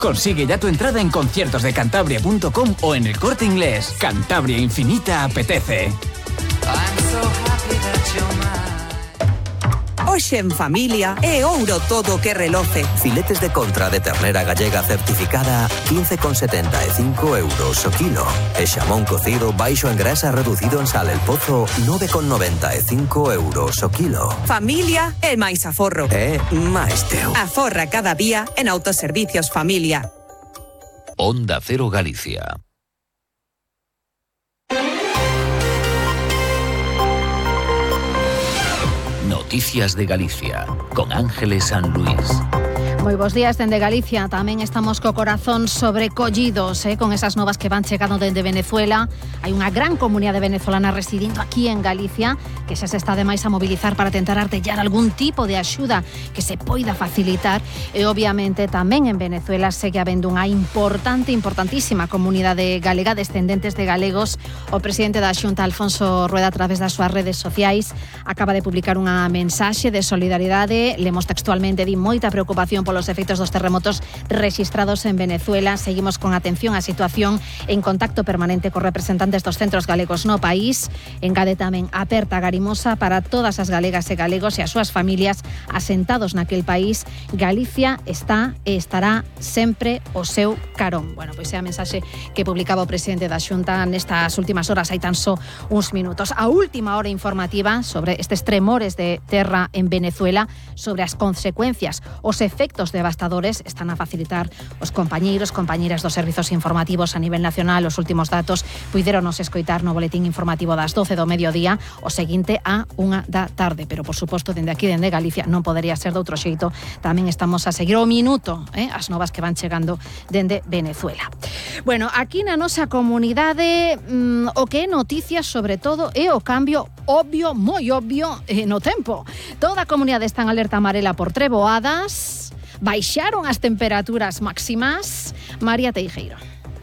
Consigue ya tu entrada en conciertosdecantabria.com o en El Corte Inglés. Cantabria Infinita apetece. Hoxe en familia é ouro todo que reloce. Filetes de contra de ternera gallega certificada 15,75 euros o kilo. E xamón cocido baixo en grasa reducido en sal El Pozo 9,95 euros o kilo. Familia é máis aforro. É máis teu. Aforra cada día en Autoservicios Familia. Onda Cero Galicia. Noticias de Galicia, con Ángeles San Luis. Moi bons días dende Galicia. Tamén estamos co corazón sobrecollidos con esas novas que van chegando dende Venezuela. Hai unha gran comunidade venezolana residindo aquí en Galicia que xa se está ademais a mobilizar para tentar artellar algún tipo de axuda que se poida facilitar. E obviamente tamén en Venezuela segue habendo unha importantísima comunidade galega, descendentes de galegos. O presidente da Xunta, Alfonso Rueda, a través das súas redes sociais, acaba de publicar unha mensaxe de solidaridade. Lemos textualmente: di moita preocupación polos efectos dos terremotos rexistrados en Venezuela. Seguimos con atención á situación, en contacto permanente cos representantes dos centros galegos no país. Engade tamén: aperta garimosa para todas as galegas e galegos e as súas familias asentados naquel país. Galicia está e estará sempre o seu carón. Bueno, pois é a mensaxe que publicaba o presidente da Xunta nestas últimas horas, hai tan só uns minutos. A última hora informativa sobre estes tremores de terra en Venezuela, sobre as consecuencias, os efectos devastadores. Están a facilitar os compañeiras dos servizos informativos a nivel nacional. Os últimos datos puideronos escoitar no boletín informativo das 12 do mediodía, o seguinte á 1 da tarde. Pero, por suposto, dende aquí, dende Galicia, non podería ser de outro xeito. Tamén estamos a seguir o minuto as novas que van chegando dende Venezuela. Bueno, aquí na nosa comunidade o que é noticia, sobre todo, é o cambio obvio, moi obvio, no tempo. Toda a comunidade está en alerta amarela por treboadas. Baixaron as temperaturas máximas. María Teijeiro.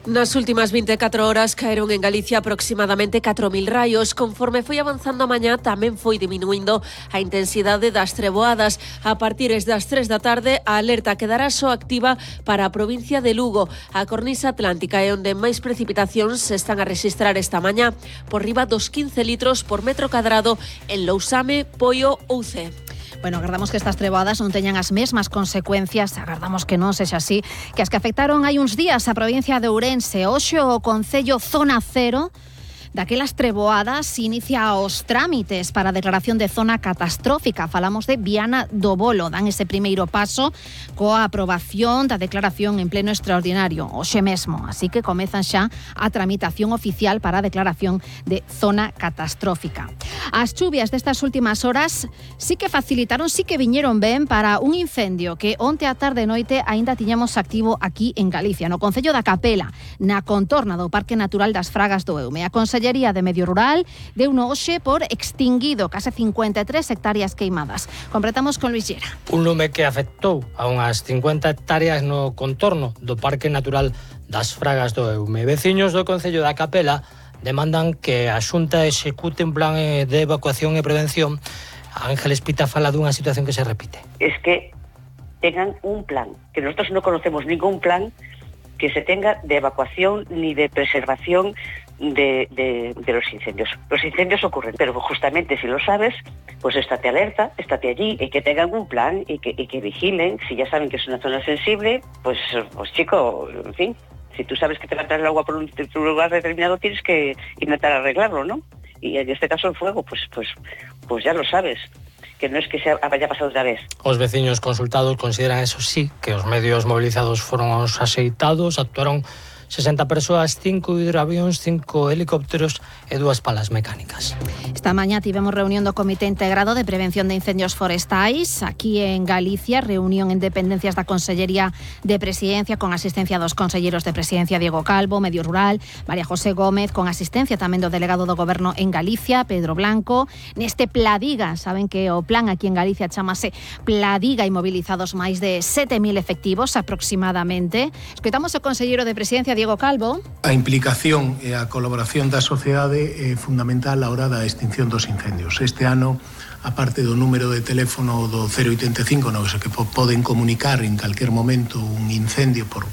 Nas últimas 24 horas caeron en Galicia aproximadamente 4.000 raios. Conforme foi avanzando a mañá, tamén foi diminuindo a intensidade das treboadas. A partir das 3 da tarde, a alerta quedará só activa para a provincia de Lugo. A cornisa atlántica é onde máis precipitacións se están a rexistrar esta mañá, por riba dos 15 litros por metro cadrado en Lousame, Poio ou Cee. Bueno, agardamos que estas treboadas non teñan as mesmas consecuencias, agardamos que non sexa así, que as que afectaron hai uns días a provincia de Ourense. Hoxe o Concello Zona Cero daquelas treboadas inicia os trámites para a declaración de zona catastrófica. Falamos de Viana do Bolo. Dan ese primeiro paso coa aprobación da declaración en pleno extraordinario hoxe mesmo. Así que comezan xa a tramitación oficial para a declaración de zona catastrófica. As chuvias destas últimas horas sí que facilitaron, sí que viñeron ben para un incendio que onte á tarde e noite aínda tiñamos activo aquí en Galicia, no Concello da Capela, na contorna do Parque Natural das Fragas do Eume. A Consellería de Medio Rural deu no hoxe por extinguido case 53 hectáreas queimadas. Completamos con Luis Llera. Un lume que afectou a unhas 50 hectáreas no contorno do Parque Natural das Fragas do Eume. Veciños do Concello da Capela demandan que a Xunta execute un plan de evacuación e prevención. Ángeles Pita fala dunha situación que se repite. Es que tengan un plan, que nosotros no conocemos ningún plan que se tenga de evacuación ni de preservación de los incendios. Los incendios ocurren, pero justamente si lo sabes, pues estate alerta, estate allí, y que tengan un plan y que vigilen. Si ya saben que es una zona sensible, pues chico, en fin, si tú sabes que te va a entrar el agua por un lugar determinado, tienes que intentar arreglarlo, ¿no? Y en este caso el fuego, pues ya lo sabes, que no es que se haya pasado otra vez. Os veciños consultados consideran, eso sí, que os medios movilizados foron os axeitados, actuaron 60 persoas, 5 hidroavións, 5 helicópteros e 2 palas mecánicas. Esta mañá tivemos reunión do Comité Integrado de Prevención de Incendios Forestais aquí en Galicia, reunión en dependencias da Consellería de Presidencia con asistencia dos conselleiros de Presidencia Diego Calvo, Medio Rural, María José Gómez, con asistencia tamén do delegado do Goberno en Galicia, Pedro Blanco. Neste Pladiga, saben que o plan aquí en Galicia chamase Pladiga, e mobilizados máis de 7.000 efectivos aproximadamente. Escoitamos o conselleiro de Presidencia Diego Calvo. A implicación e a colaboración da sociedade é fundamental a hora da extinción dos incendios. Este ano, a parte do número de teléfono do 085, no que poden comunicar en calquer momento un incendio por